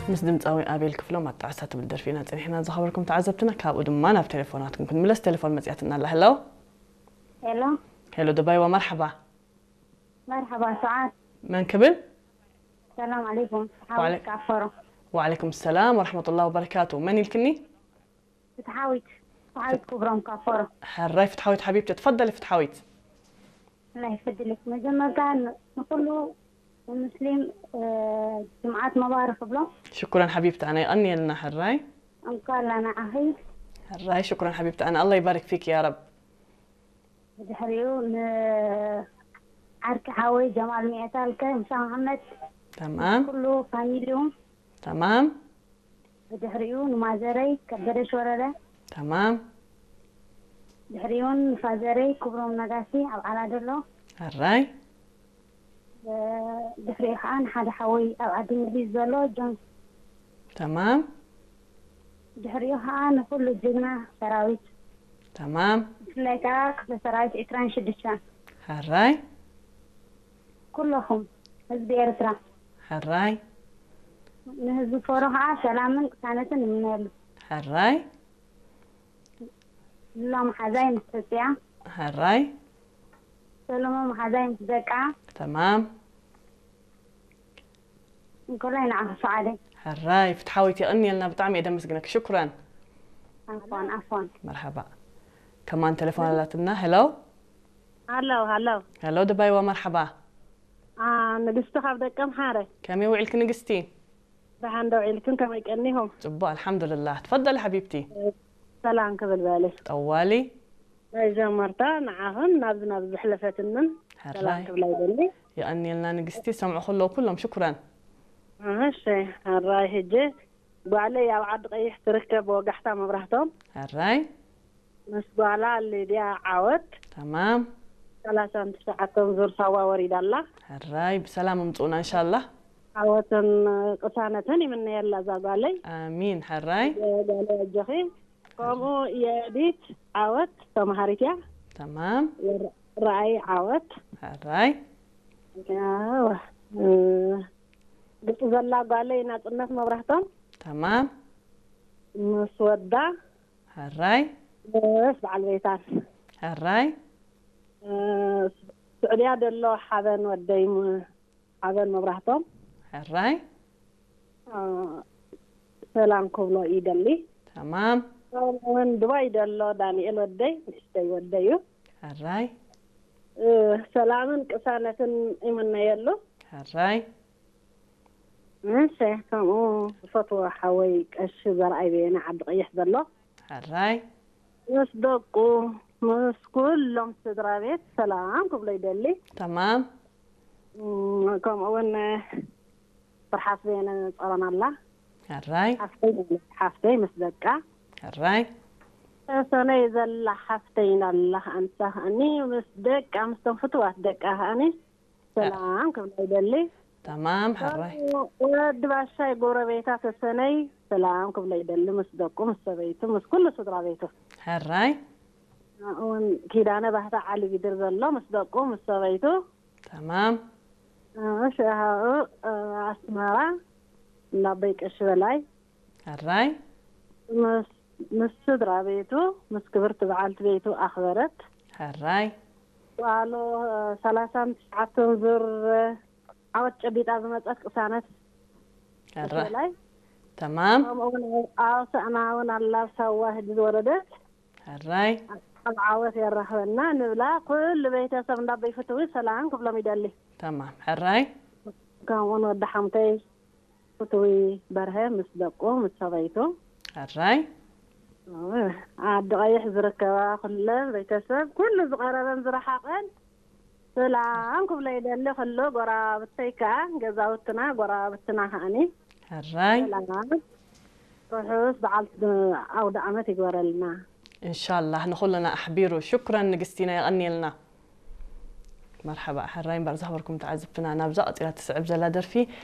ምስ ድምፃዊ ኣቤል ክፍሎም ኣጣዕሳ ትብል ደርፊ ኢና ጸኒሕና ዝኸበርኩም ተዓዘብትና። ካብኡ ድማ ናብ ቴሌፎናትኩም ክንምለስ። ቴሌፎን መጽያትና ኣላ። ሄሎ። ሄሎ። ሄሎ ደባይዋ፣ መርሓባ። መርሓባ ሰዓት። መን ክብል? ሰላም ዓለይኩም። ወዓለ- ሓወት ካፈሮ። ወዓለይኩም ሰላም ወረሕመቱላሂ ወበረካቱ። መን ኢልክኒ? ፍትሓዊት። ፍትሓዊት ክብሮም ካፈሮ። ሕራይ ፍትሓዊት ሓቢብቲ፣ ትፈደሊ ፍትሓዊት። الله يفضلك. መጀመርታ ን- ንኩሉ ሙስሊም እ፣ ጅምዓት መባረክ ብሎ። ሽኩረን ሓቢብቲ ኣነ፣ የቐንየልና። ሕራይ እንኳን ለናዓኺ። ሕራይ ሽኩረን ሓቢብቲ ኣነ፣ ኣላ ይባርክ ፊክ ያ ረብ። ብድሕሪኡ ን ዓርኪ ሓወይ ጀማል ሚዕታልከ፣ ሙሳ መሓመድ፣ ተማም ኩሉ ፋሚሊኡ። ተማም ብድሕሪኡ ንማዘረይ ከበደ ሽወረረ። ተማም ድሕሪኡ ንፋዘረይ ክብሮም ነጋሲ ኣብ ዓላ ዘሎ። ሕራይ ድሕሪኡ ከዓ ንሓደ ሓወይ ኣብ ዓዲ እንግሊዝ ዘሎ ጆን። ተማም ድሕሪኡ ከዓ ንኩሉ ጅግና ሰራዊት፣ ተማም ብፍላይ ከዓ ክፍለ ሰራዊት ዕስራን ሽዱሽተን። ሕራይ ኩለኹም ህዝቢ ኤርትራ፣ ሕራይ ንህዝቢ ፎሮ ከዓ ሰላምን ቅሳነትን ንምነየሉ። ሕራይ ሉላ መሓዛይ ምስ ሕፅያ፣ ሕራይ ሰሎሞ መሓዛይ ምስ ደቃ፣ ተማም እንኮላይ ንዓኺ ሰዓደይ። ሕራይ ፍትሓዊት፣ የቐንየልና፣ ብጣዕሚ እየ ደመስግነክ። ሽኩራን። ኣፎን ኣፎን። መርሓባ። ከማን ቴሌፎን ኣላትና። ሄሎ ሃሎ ሃሎ ሄሎ ደባይዋ፣ መርሓባ። ኣ፣ ንግስቲ ካብ ደቀ ምሓረ። ከመይ ውዒልክ ንግስቲ? ደሓን ዶ ውዒልክን፣ ከመይ ቀኒኹም? ጽቡቅ ኣልሓምዱልላህ። ትፈደሊ ሓቢብቲ። ሰላም ክብል በሊ። ጠዋሊ መጀመርታ ንዓኽን ናብዚ ናብዚ ዝሕለፈትንን ሰላም ሕራይ ክብላ ይደሊ። የቐንየልና ንግስቲ። ሰምዑ ከለዉ ኩሎም ሽኩራን። እሺ ሕራይ። ሕጂ ጓለይ ኣብ ዓዲ ቀይሕ ትርከብ፣ ወጋሕታ መብራህቶም ሕራይ ምስ ጓላ ሊድያ ዓወት ተማም ሰላሳን ትሽዓተን ዙር ሳዋ ወሪዳ ኣላ። ሕራይ ብሰላም እምጽኡና እንሻላ። ዓወትን ቅሳነትን ይምነየላ እዛ ጓለይ። ኣሚን። ሕራይ ጓለይ ኣጆኺ። ከምኡ የዲት ዓወት ተምሃሪት እያ። ተማም ረኣይ ዓወት ሕራይ ያው፣ እ፣ ግብፂ ዘላ ጓለይ ናፅነት መብራህቶም ተማም ምስ ወዳ ሕራይ ምስ በዓል ቤታን ሕራይ እ፣ ስዑድያ ደሎ ሓበን ወደይ ም- ሓበን መብራህቶም ሕራይ እ፣ ሰላም ክብሎ ይደሊ። ተማም እውን ዱባይ ደሎ ዳንኤል ወደይ ንእሽተይ ወደይ እዩ። ሕራይ እ፣ ሰላምን ቅሳነትን ይምነየሉ። ሕራይ እሺ፣ ከምኡ ዝፈትዎ ሓወይ ቀሺ ዘርኣይ በየነ ዓዲ ቀይሕ ዘሎ ሕራይ ምስ ደቁ ምስ ኩሎም ስድራ ቤት ሰላም ክብሎ ይደሊ። ተማም እም፣ ከምኡ እውን ፍርሓት በየነ ጸረና ኣላ ሕራይ ሓፍተይ ማለት ሓፍተይ ምስ ደቃ ሕራይ ተሰነይ ዘላ ሓፍተይ ኣላ ኣንሳ ከኣኒ ምስ ደቃ ምስቶም ፍትዋት ደቃ ከኣኒ ሰላም ክብላ ይደሊ። ተማም ሕራይ ወዲ ባሻይ ጎረቤታ ተሰነይ ሰላም ክብሎ ይደሊ፣ ምስ ደቁ ምስ ሰበይቱ ምስ ኩሉ ስድራ ቤቱ። ሕራይ እውን ኪዳነ ባህታ ዓሊ ጊድር ዘሎ ምስ ደቁ ምስ ሰበይቱ። ተማም ሽሃኡ ኣስመራ እንዳበይ ቀሺ በላይ ሕራይ ምስ ምስ ስድራ ቤቱ ምስ ክብርቲ በዓልቲ ቤቱ ኣኽበረት። ሕራይ ጓሉ ሰላሳን ትሽዓተን ዙር ዓወት ጨቢጣ ዝመፀት ቅሳነት ሕራይ በላይ ተማም ከምኡ እውን ኣብ ሰእና እውን ኣላ ሳዋ ህጂ ዝወረደት ሕራይ ኣብ ዓወት የራኽበና ንብላ ኩሉ ቤተሰብ እንዳበይ ፍትዊ ሰላም ክብሎም ይደሊ። ተማም ሕራይ ከምኡውን ወዲ ሓምተይ ፍትዊ በርሀ ምስ ደቁ ምስ ሰበይቱ ሕራይ ዓዲ ቀይሕ ዝርከባ ኩለን ቤተሰብ ኩሉ ዝቐረበን ዝረሓቐን ሰላም ክብሎ ይደሊ። ኩሉ ጎራብተይ ከዓ ገዛውትና ጎራብትና ከዓኒ ሕራይ ሰላም ርሑስ በዓል ኣውደ ዓመት ይግበረልና። እንሻላህ ንኹልና ኣሕቢሩ። ሽኩረን ንግስቲና፣ የቐንየልና። መርሓባ። ሕራይ እምበር ዝኸበርኩም ተዓዘብትና፣ ናብዛ ቀፂላ ትስዕብ ዘላ ደርፊ